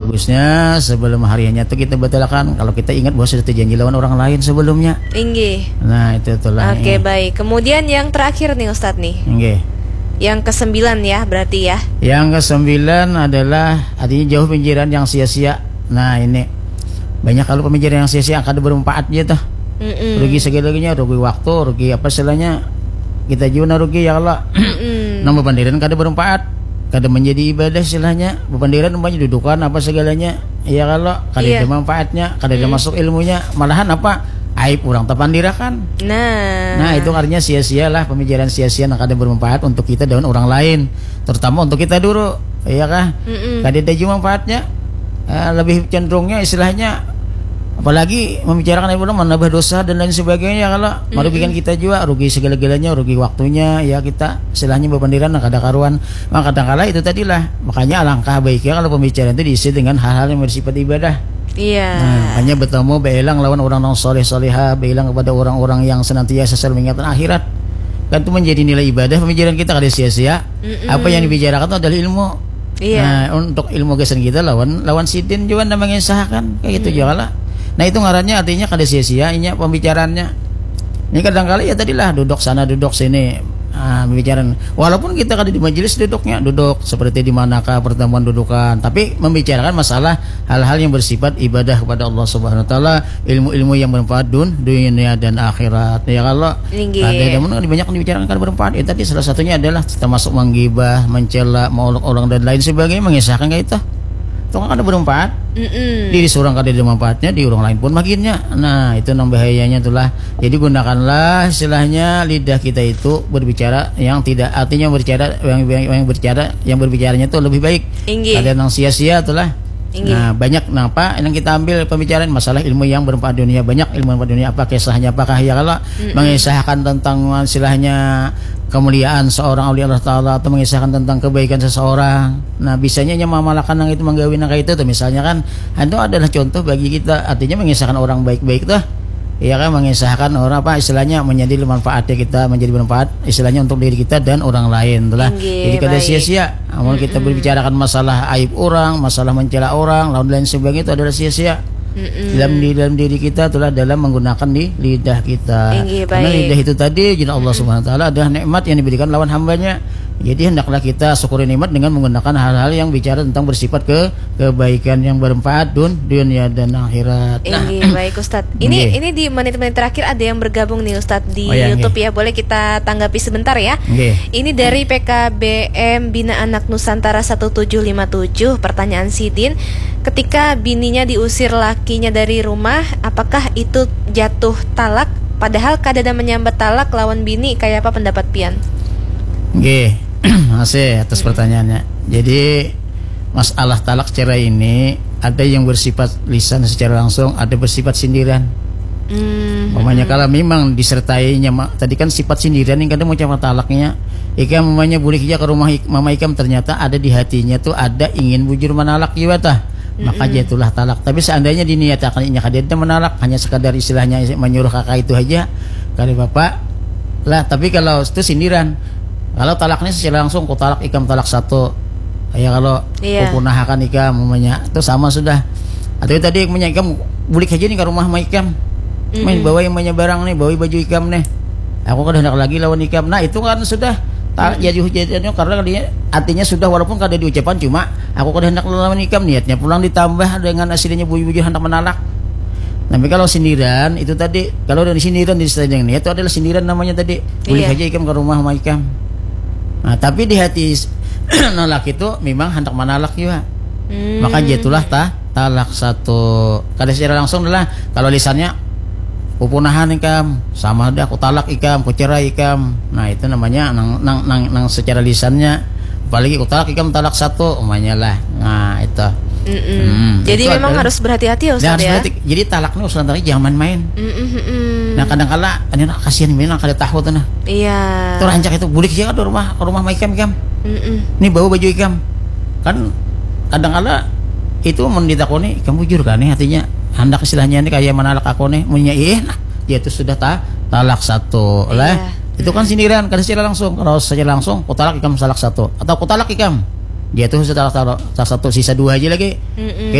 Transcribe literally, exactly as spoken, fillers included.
Bagusnya sebelum hari hanya tuh kita batalkan kalau kita ingat bahwa sudah terjanji lawan orang lain sebelumnya. Inggih. Nah, itu itulah. Oke, Ini. Baik. Kemudian yang terakhir nih Ustadz nih. Nggih. Yang kesembilan ya, berarti ya. Yang kesembilan adalah artinya jauh pemikiran yang sia-sia. Nah, ini banyak kalau pemikiran yang sia-sia kada bermanfaat gitu. Mm-mm. Rugi segala-galanya, rugi waktu, rugi apa istilahnya, kita juga rugi ya Allah. Mm-mm. Nang bepandiran kada bermanfaat, kada menjadi ibadah istilahnya. Bepandiran umpamanya dudukan apa segalanya, ya kalau kada Iya. ada manfaatnya, kada ada Mm. masuk ilmunya, malahan apa, aib orang tapandirakan. Nah. Nah, itu artinya sia-sia lah, pemikiran sia-sia yang kada bermanfaat untuk kita dan orang lain, terutama untuk kita dulu, ya kah? Mm-mm. Kada ada juga manfaatnya. Eh, lebih cenderungnya istilahnya, apalagi membicarakan ilmu menambah dosa dan lain sebagainya, kalau merugikan kita juga, rugi segala-galanya, rugi waktunya, ya kita istilahnya bepandiran nah kada karuan. Maka kadangkala itu tadilah, makanya alangkah baiknya kalau pembicaraan itu diisi dengan hal-hal yang bersifat ibadah. Iya. Nah, makanya bertemu bailang lawan orang yang soleh soleha, bailang kepada orang-orang yang senantiasa selalu mengingatkan akhirat. Kan itu menjadi nilai ibadah pemikiran kita kada sia-sia. Mm-mm. Apa yang dibicarakan itu adalah ilmu. Iya. Nah, untuk ilmu gasan kita lawan lawan sidin juga nda mengisahkan kayak gitu juga lah. Nah, itu ngarannya artinya kada sia-sia inya pembicaraannya. Ini kadangkala ya tadilah duduk sana duduk sini, ah, pembicaraan. Walaupun kita kada di majelis duduknya, duduk seperti di manakah pertemuan dudukan, tapi membicarakan masalah hal-hal yang bersifat ibadah kepada Allah Subhanahu wa taala, ilmu-ilmu yang bermanfaat dun dunia dan akhirat. Ya kalau Inggih. Ada namun banyak yang dibicarakan kada bermanfaat. Ya, tadi salah satunya adalah termasuk menggibah, mencela, mengolok-olok dan lain sebagainya, mengisahkan kayak itu. Itu kan kada bermanfaat. Mm-mm. Diri seorang kada ada manfaatnya, di orang lain pun makinnya. Nah, itu nang bahayanya itulah. Jadi gunakanlah istilahnya lidah kita itu berbicara yang tidak, artinya berbicara yang, yang, yang berbicara yang berbicaranya itu lebih baik. Inggih. Kada nang sia-sia itulah. Inggih. Nah, banyak napa yang kita ambil pembicaraan masalah ilmu yang bermanfaat dunia, banyak ilmu bermanfaat dunia, apa kisahnya, apakah ya kalau mengisahkan tentang istilahnya kemuliaan seorang aulia Allah Taala atau mengisahkan tentang kebaikan seseorang. Nah, bisanya hanya mengamalkan yang itu, menggawi nang kayak itu tuh, misalnya kan, itu adalah contoh bagi kita, artinya mengisahkan orang baik-baik tuh. Iya kan, mengisahkan orang apa istilahnya menjadi manfaatnya kita, menjadi bermanfaat istilahnya untuk diri kita dan orang lain itulah. Inggih, Jadi kada baik. Sia-sia. Amun kita berbicarakan masalah aib orang, masalah mencela orang, lawan lain sebagainya itu adalah sia-sia. Mm-mm. Dalam di dalam diri kita itulah dalam menggunakan di lidah kita. Inggih, Karena baik. Lidah itu tadi, jina Allah Subhanahu wa taala adalah nikmat yang diberikan lawan hambanya. Jadi hendaklah kita syukuri nikmat dengan menggunakan hal-hal yang bicara tentang bersifat ke kebaikan yang bermanfaat dun dunia dan akhirat. Nah, Inggih, baik Ustadz. Ini Inggih. ini di menit-menit terakhir ada yang bergabung nih Ustadz di Oh, ya, YouTube inggih. Ya. Boleh kita tanggapi sebentar ya. Nggih. Ini dari P K B M Bina Anak Nusantara satu tujuh lima tujuh. Pertanyaan sidin, ketika bininya diusir lakinya dari rumah, apakah itu jatuh talak? Padahal kada ada menyambat talak lawan bini, kayak apa pendapat pian? Nggih, masih atas pertanyaannya. Jadi masalah talak cerai ini ada yang bersifat lisan secara langsung, ada bersifat sindiran. Hmm. Umpamanya kalau memang disertainya ma- tadi kan sifat sindiran yang kadang mengucapkan talaknya, ikam umpamanya bulik aja ke rumah ik- mama ikam, ternyata ada di hatinya tuh ada ingin bujur menalak juga tah. Maka jatuhlah talak. Tapi seandainya diniatakan inya kada ada menalak, hanya sekadar istilahnya menyuruh kakak itu aja, kada apa-apa lah. Tapi kalau itu sindiran, kalau talaknya secara langsung, ku talak ikam talak satu. Ya kalau Iya. ku punahakan ikam umpamanya, itu sama sudah. Atau tadi umpamanya ikam bulik aja nih ke rumah sama ikam. Main bawa yang banyak barang nih, bawa baju ikam nih. Aku kada hendak lagi lawan ikam. Nah, itu kan sudah tak jadi hujatan karena dia artinya sudah walaupun kada diucapkan cuma aku kada hendak lawan ikam, niatnya pulang ditambah dengan aslinya bujur-bujur hendak menalak. Tapi kalau sindiran itu tadi, kalau dari sindiran di dengan niat itu adalah sindiran namanya tadi. Boleh Iya. Aja ikam ke rumah sama ikam. Nah, tapi di hati s- nalak itu memang hendak menalak juga. Hmm. Maka jatuhlah ta talak satu. Kada secara langsung adalah kalau lisannya pupunahan ikam, sama ada aku talak ikam, aku cerai ikam. Nah, itu namanya nang nang nang, nang secara lisannya. Apalagi aku talak ikam talak satu, umpamanya lah. Nah, itu. Mm-mm. Hmm, Jadi itu memang adalah- harus berhati-hati ya Nah, Ustaz harus ya. berarti jadi talak nih urusan talak jangan main-main. Mm-mm, mm-mm. Nah, kadang kala ini kasihan ini kali tahu tuh nah. Iya. Itu rancak itu bulik aja ke rumah ke rumah sama ikam ikam. Mm-mm. Ini bawa baju ikam. Kan kadang kala itu mun ditakoni ikam bujur kan nih artinya hendak istilahnya ini kayak menalak aku nih munnya ih nah dia itu sudah ta talak satu lah. Iya. Itu kan sindiran kada secara langsung. Kalau secara langsung ku talak ikam talak satu atau ku talak ikam dia tuh sudah talak, talak, talak satu sisa dua aja lagi. Mm-mm.